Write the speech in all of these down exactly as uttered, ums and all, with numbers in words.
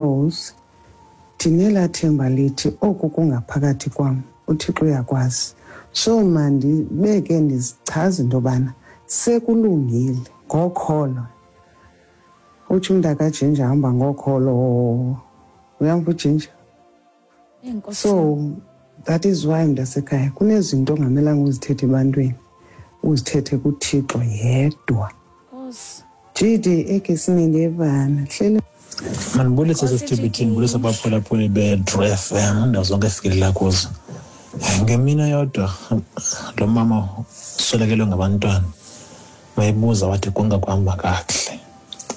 Because ndinelaa themba lithi oku kungaphakathi kwam uThixo uyakwazi. So mandibeke ndizichaze into yobana sekulungile ngokholo. Utsho umntakaJinja hamba ngokholo. Uyamva uJinja? So that is why mntasekhaya kunezinto ongamelanga uzithethe ebantwini, uzithethe kuThixo yedwa. G D egesini ndiyevana hleli. Mandibulise sesithibithini, ndibulise abaphulaphuli be-True F M indawo zonke efikelela kuzo. Ngemini yodwa lo mama uswelekelwe ngabantwana, wayebuza wathi konke kuhamba kakuhle.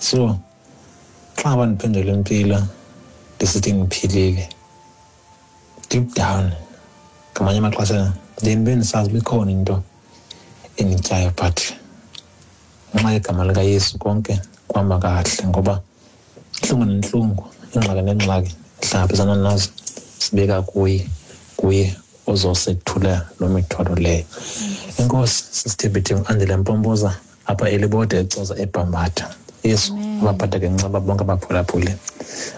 So xa ngaba ndiphendula impilo ndisithi ndiphilile, deep down ngamanye amaxesha ndiye ndibe ndisazi uba ikhona into endityayo, but ngenxa yegama likaYesu konke kuhamba kakuhle, ngoba intlungu nentlungu, ingxaki nengxaki sihlangabezana nazo sibeka kuye, kuye ozosethula loo mithwalo leyo. Enkosi sisithembithi Andile Mpompoza apha eLibode eCoza eBhambatha. Yesu abaphatha ngenceba bonke abaphulaphuli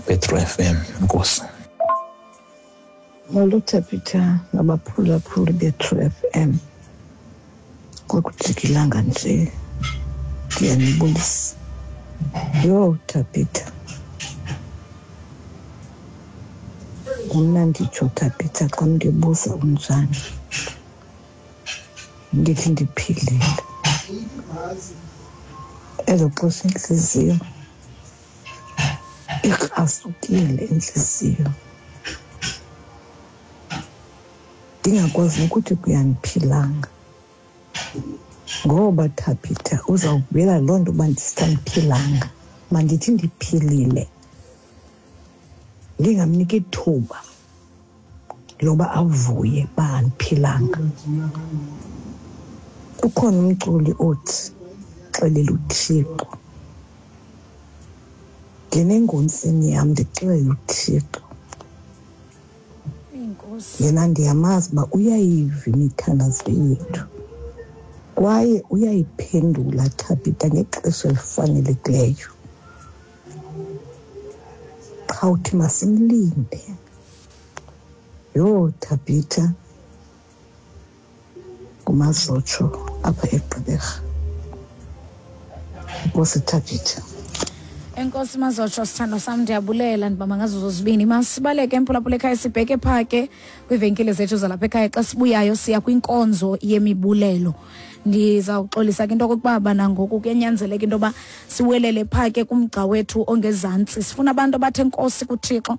be-True F M. Enkosi. Molo Thabitha nabaphulaphuli be-True F M. Kwakujikilanga nje ndiyanibulisa. Yho Thabitha, mna nditsho Thabitha xa ndibuza unjani, ndithi ndiphilile. Elo xesha intliziyo ikrasukile, intliziyo ndingakwazi nokuthi kuyandiphilanga, ngoba Thabitha uzawuvela loo nto uba ndisisandiphilanga. Mandithi ndiphilile, ndingamniki ithuba loba avuye uba andiphilanga. Ukhona umculi othi xelela uThixo, ndinengontsini yam ndixelela uThixo. Yena ndiyamazi uba uyayiva imithandazo yethu kwaye uyayiphendula Thabitha ngexesha elifanelekileyo. Qha uthi masimlinde. Yho Thabitha, kumazotsho apha eGqeberha. Nkosi Thabitha. Enkosi Mazotsho, sithando sam, ndiyabulela ndibamba ngazo zozibini. Masibaleke emphulaphula ekhaya sibheke phaa ke kwiivenkile zethu zalapha ekhaya. Xa sibuyayo siya kwinkonzo yemibulelo. Ndizawuxolisa ke into okokuba bana ngoku kuyanyanzeleka into yoba siwelele phaa ke kumgca wethu ongezantsi. Sifuna abantu abathe enkosi kuThixo.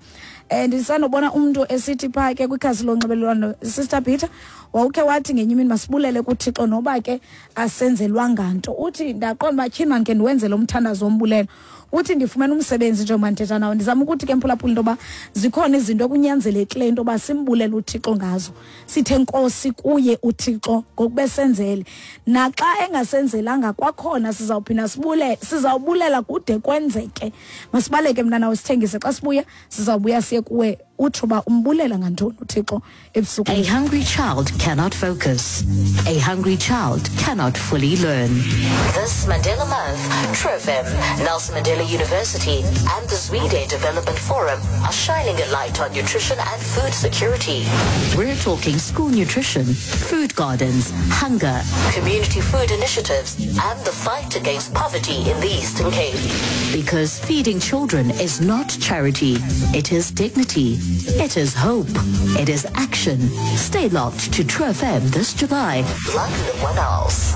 Um ndisanobona umntu esithi phaa ke kwikhasi lonxibelelwano, Sister Peter, wawukhe wathi ngenye imini masibulele kuThixo noba ke asenzelwanga nto. Uthi ndaqonda uba tyhini mani ke ndiwenzele umthandazo wombulelo. Uthi ndifumene umsebenzi njengoba ndithetha nawe. Ndizama ukuthi ke mphulaphula into yoba zikhona izinto ekunyanzelekileyo into yoba simbulele uThixo ngazo, sithe nkosi kuye uThixo ngokube senzele. Naxa engasenzelanga kwakhona sizawuphinda sibule, sizawubulela kude kwenzeke. Masibaleke mna nawe sithengise. Xa sibuya sizawubuya siye kuwe utsho uba umbulela ngantoni uThixo ebusuku. A hungry child cannot focus. A hungry child cannot fully learn. This Mandela Month, True F M, Nelson Mandela University and the Zwide Development Forum are shining a light on nutrition and food security. We're talking school nutrition, food gardens, hunger, community food initiatives, and the fight against poverty in the Eastern Cape. Because feeding children is not charity, it is dignity. It is hope. It is action. Stay locked to True F M this July, like no one else.